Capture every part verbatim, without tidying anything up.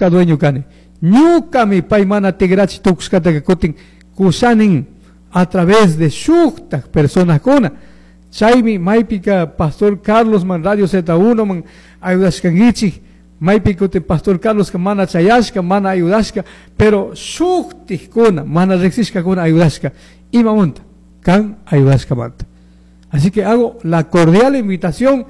Ñuka dueño kani. Ñukami pay mana tigrachi tukushkataka kutin kushanin a través de shuktak personakuna. Chaymi maypika Pastor Carlos man Radio Z uno man ayudashkankichik, maypi kutin Pastor Carlos mana chayashka, mana ayudashka, pero shuktikkuna mana riksishkakuna ayudashka. Imamunta kan ayudashkamanta. Así que hago la cordial invitación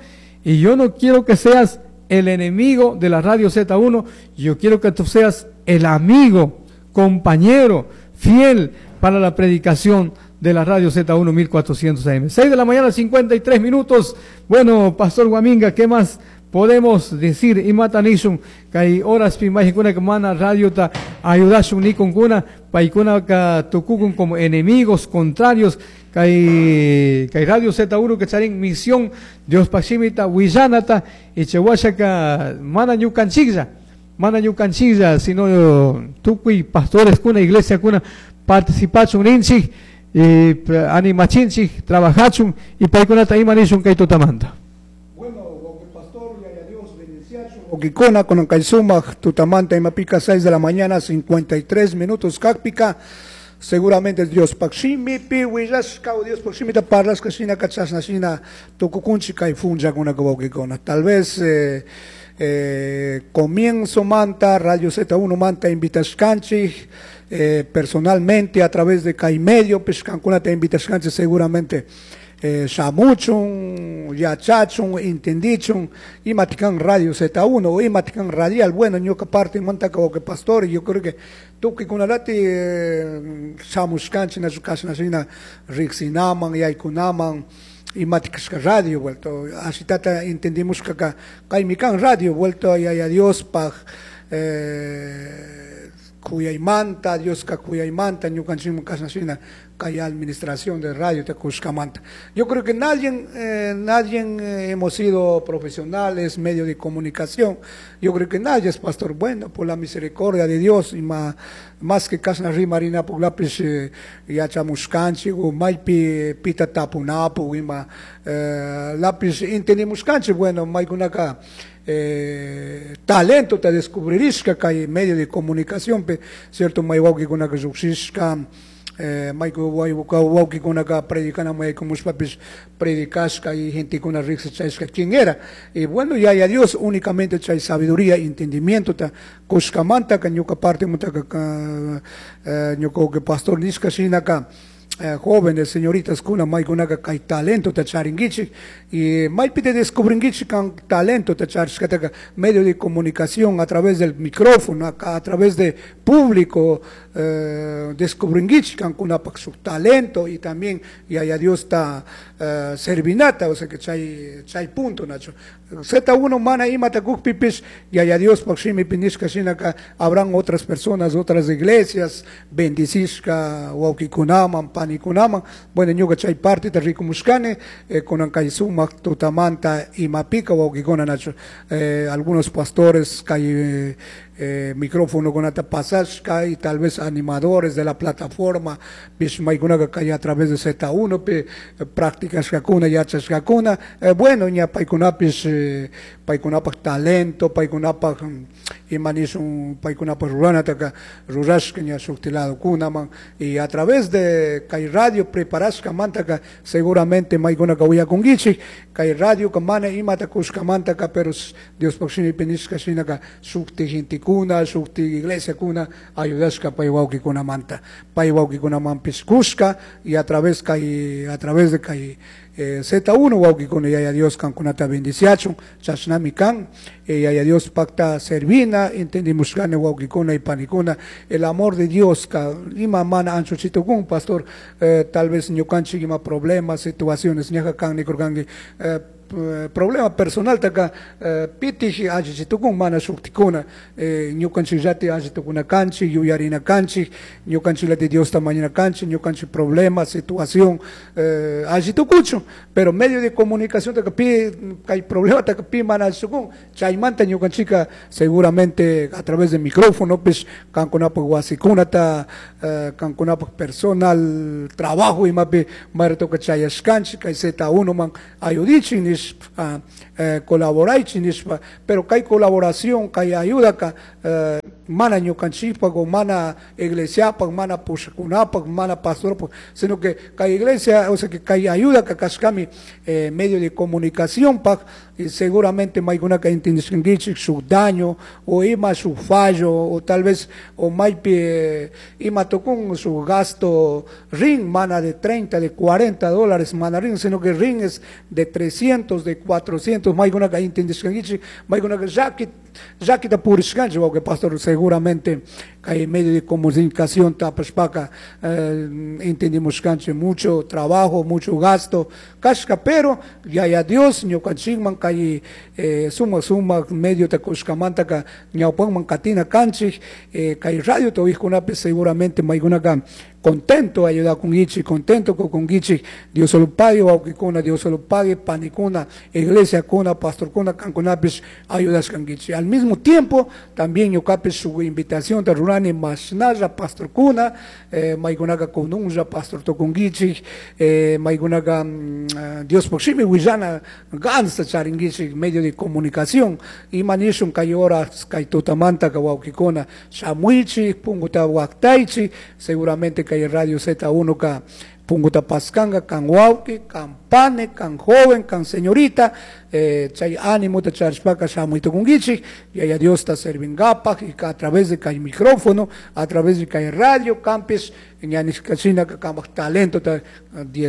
y yo no quiero que seas el enemigo de la Radio Z uno, yo quiero que tú seas el amigo, compañero, fiel para la predicación de la Radio Z uno mil cuatrocientos A M. seis de la mañana, cincuenta y tres minutos. Bueno, Pastor Guaminga, ¿qué más podemos decir? Imata nishun, kay horaspi mayqankuna mana radiota ayudashun nikunkuna, paykunaka tukukun como enemigos contrarios, kay, kay Radio Z uno que charin misión Diospaj shimita willanata, y chawashaka mana ñukanchiklla, mana ñukanchiklla, sino tukuy pastores kuna, iglesia kuna participachun ninchik, y animachinchik, trabajachun, y paykunata ima nishun kay tutamanta. Bueno, pastor, yaya Dios bendiciachun. Wawkikuna kunan kay sumak tutamanta imapika seis de la mañana cincuenta y tres minutos kakpika, seguramente Diospaj shimipi willashka o Diospaj shimita parlashka shinaka chashna shina tukukunchik kay punllakuna, wawkikuna. Tal vez eh, eh, comienzo manta Radio Z uno manta invitashkanchik eh, personalmente a través de kay medio pish kankunata invitashkanchik, seguramente eh, shamuchun, yachachun, entendichun, imatikan Radio Z uno, imatikan radial. Bueno, ñuka parte manta que pastor, yo creo que tukuykunallati eh, shamushkanchik nachu kashna shina riksinaman, yaykunaman, imatikashka radio, vuelto, ashitata entendimos que kaymi kan radio, vuelto, yaya Diospaj eh, kuyaymanta, Dioska kuyaymanta, ñukanchikman kashna shina kay administración de radio ta kushkamanta. Yo creo que nadie, eh, nadie eh, hemos sido profesionales, medio de comunicación. Yo creo que nadie es pastor. Bueno, por la misericordia de Dios, y más, más que kashna rimarina puklapish eh, yachamushkanchik, o maypi pita tapunapu, ima eh, lapish entendimushkanchik, bueno, maykunaka eh, talento ta descubririshka kay medio de comunicación, pe, cierto, may wawkikunaka lluqshishka, eh, mayku wawkikunaka predicana mayaykushpapish predicashka y gentekuna riqsichashka quién era. Y bueno, yaya Dios únicamente chay sabiduría, entendimiento ta kushkamanta ka ñuka parte mutaka ka eh, ñuka que pastor nishka shinaka eh, jóvenes, señoritas kuna maykunaka kay talento ta charinkichik y maypi te descubrinkichik kan talento ta charishkataka medio de comunicación a través del micrófono, a, a través de público eh, descubrinkichik kankunapak su talento y también yaya Dios ta eh, servinata, o sea que chay chay punto nacho Z uno mana imata kukpipish yaya Diospaj shimipi nishka shinaka habrán otras personas, otras iglesias bendicishka wawkikunaman, panikunaman. Bueno, ñuka chay parte ta rikumushkani eh, kunan kay sumak tutamanta imapika, wawkikuna, nacho eh, algunos pastores kay eh, eh, micrófono kunata pasashka y tal vez animadores de la plataforma pish maykunaka kay a través de Z uno pi eh, practicashkakuna, yachashkakuna. eh, bueno ña paykunapish eh, paykunapak talento, paykunapak mm, ima nishun paykunapak ruranataka rurashka ña shukti ladokunaman y a través de kay radio preparashkamantaka seguramente maykunaka uyakunkichik kay radio mana imata kushkamantaka, pero Diospaj shimipi nishka shinaka shukti gentekuna, shukti iglesiakuna ayudashka pay wawkikunamanta, pay wawkikunamanpish kushka y a través kay a través de kay eh, Z uno, wawkikuna, yaya Dios kankunata bendiciachun. Chashnami kan eh, yaya Dios pakta servina, entendimushkani, wawkikuna y panikuna, el amor de Dios ka ima mana anchuchitukun. Pastor, eh, tal vez ñukanchik ima problemas, situaciones ñaja kan nikurkanki eh, problema personal taka eh, pitish allichitukun mana shuktikuna eh, ñukanchikllati allitukuna kanchik, yuyarina kanchik, ñukanchikllati Diosta mañana kanchik, ñukanchik problema, situación eh, allitukuchu, pero medio de comunicación taka pi kay problema taka pi mana allitukun. Chaymanta ñukanchika seguramente a través de micrófono pish kankunapak wasikunata eh, kankunapak personal trabajo imapi mayratoka chayashkanchik kay Z uno man ayudichik nishpa, eh, colaboraychik nishpa, pero kay colaboración, kay ayuda ka eh, mana ñukanchikpak o mana iglesiapak, mana pushakunapak, mana pastorpak, sino que kay iglesia, o sea que kay ayuda kashkami eh, medio de comunicación pak, y seguramente maykunaka entendishkankichik shuk daño o ima shuk fallo o tal vez o maypi eh, ima tukun su gasto rin mana de treinta, de cuarenta dólares mana rin, sino que rin es de trescientos, de cuatrocientos, maykunaka entendishkankichik, maykunaka llaki llakita purishkanchik, wawqi pastor, seguramente kay medio de comunicación tapashpaka eh, entendimos mucho trabajo, mucho gasto kashka, pero yaya Dios ñukanchikman kay eh, sumak sumak medio ta kushkamantaka ñawpanman katina kanchik, eh, kay radio tawihkunapi seguramente maykunaka contento ayudakunkichik, contento kukunkichik, Dios lo pague wawqikuna, Dios lo pague panikuna, iglesia kuna, pastorkuna, kankunapish ayudashkankichik. Al mismo tiempo también ñukapish su invitación ta rurani mashnalla pastorkuna, eh, maykunaka kununlla pastor tukunkichik, eh, maykunaka mm, Diospuk shimi willana ganasta charinkichik medio de comunicación, ima nishun kay horas kay tutamantaka wawqikuna shamuychik, punkuta waktaychik, seguramente kay Radio Z uno ka punkuta paskanka kan wawqi, kan pane, kan joven, kan señorita, eh, chay ánimo ta charishpaka shamuytukunkichik, yaya Diosta servingapak, y a través de kay micrófono, a través de kay radio, campes, ñanishkachina kamak talento ta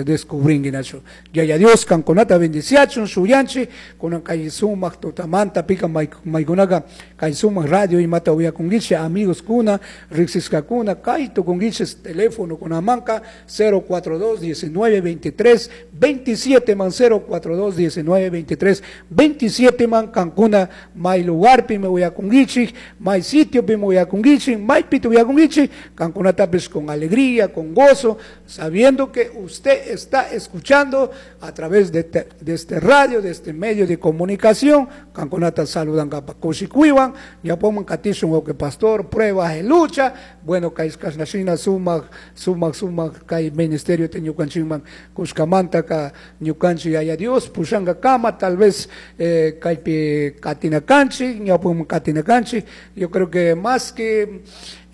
descubringuinachu. Yaya Dios kankunata bendiciachun, shuyanchi, kunan kay sumak tutamanta pika maykunaka kay sumak radio imata uyakunkichik, amigos kuna, riksiskakuna, kay tukunkichik teléfono kunamanka cero cuatro dos diecinueve veintitrés veintisiete man cero cuatro dos diecinueve veintitrés veintisiete man kankuna may lugar pi me uyakunkichik, may sitio pi me uyakunkichik, may pito uyakunkichik, kankunatapis con alegría, con gozo, sabiendo que usted está escuchando a través de, te, de este radio, de este medio de comunicación, kankunata saludan kapa kushikuywan, ñapoman katishun wawqi pastor, pruebas en lucha, bueno, kay kashnashina sumak, sumak, sumak, kay ministerio te ñukanchikman kushkamanta ka ñukanchik yaya Dios pushanka kama, tal vez eh, kaypi katinakanchik, ñapoman katinakanchik, yo creo que más que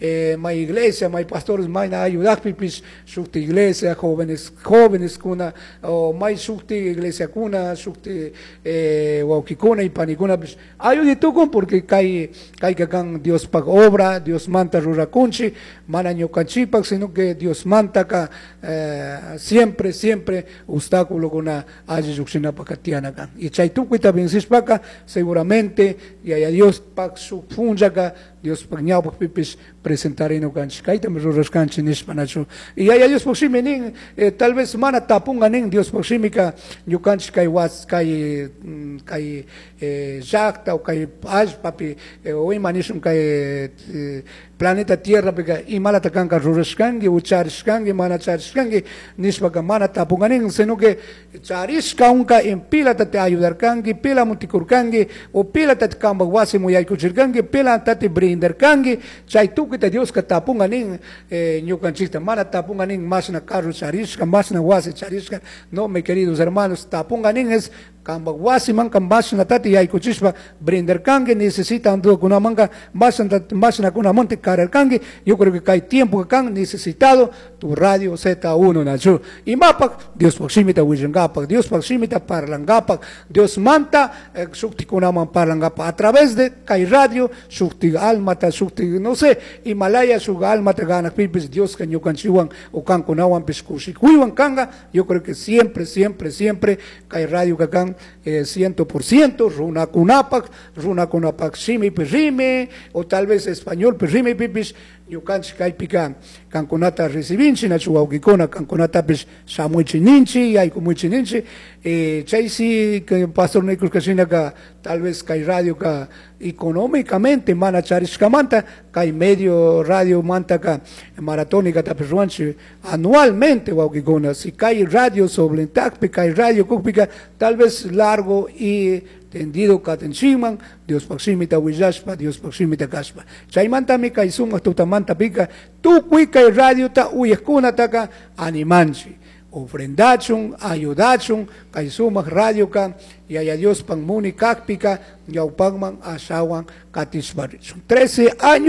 Eh, may iglesia, may pastores, may na ayudakpipis, shukti iglesia, jóvenes, jóvenes kuna, o may shukti iglesia kuna, shukti eh, wawkikuna y panikuna, pues, ayuditukun porque kay, kay kakan Dios pak obra, Dios manta rurakunchi, mana ñukanchipak, sino que Dios manta ka, eh, siempre, siempre obstáculo kuna alli llukshinapa tiana kan. Y chay tukuyta vencishpaka, seguramente, yaya Dios pak shuk punllaka, Dios pak ñawpak pipis presentarino kanchik, kaytami rurashkanchik nishpa nachu. Y yaya Dios pak shimi nin, eh, tal vez mana tapunga nin Dios pak shimika ñukanchik kay was, kay, mm, kay, eh, llaqta o kay allpapi, eh, o ima nishun kay, eh, planeta Tierra pika imalata kanka rurashkanki o charishkanki, mana charishkanki nishpaka mana tapunga nin, sino que charishka unka en pilata te ayudarkanki, pila mutikurkanki, o pilata te kampak wasimu yaykuchirkanki, pilata te brindarkanki, chay tukuyta Dioska tapunga nin, eh, ñukanchikta, mana tapunga nin mashna carro charishka, mashna wasi charishka, no, mis queridos hermanos, tapunga nin es kampak wasimanka mashna tati yaykuchishpa brindarkanki, necesitan kunamanka mashna, mashna kunamonte kararkanki, yo creo que kay tiempo que kan necesitado tu radio Z uno nachu. Imapak Dios pak shimita willangapak, Dios pak shimita parlangapak, Dios manta, eh, shukti kunaman parlangapak a través de kay radio, shukti almata, shukti no sé, Himalaya shuk almata ganak pipis, Dios ka ñukanchiwan o kan kunawan pis kushikuywan kanga, yo creo que siempre, siempre, siempre kay radio kakan, eh, ciento por ciento, runakunapak, runakunapak shimi pirrime, o tal vez español pirrime pipis, ñukanchik kaypika kankunata recibinchi, nachu wawqikuna kankunatapis shamuichi ninchi, yaykumuichi ninchi, eh, chay si que pastor nikurkashinaka tal vez kay radio ka económicamente mana charishkamanta, kay medio radio mantaka maratónica tapis ruanchi anualmente wawqikuna, si kay radio soblentakpi, kay radio kukpika, tal vez largo y tendido katenchiman, Dios pakshimita willashpa, Dios pakshimita kashpa. Chaymantami kay sumaq tutamanta pika, tukuy kay radiota uyaqkunataka animanchi. Ofrendachun, ayudachun, kay sumaq radio ka, yaya Dios pan muni kakpika, ñawpakman ashawan katishpa richun. Trece años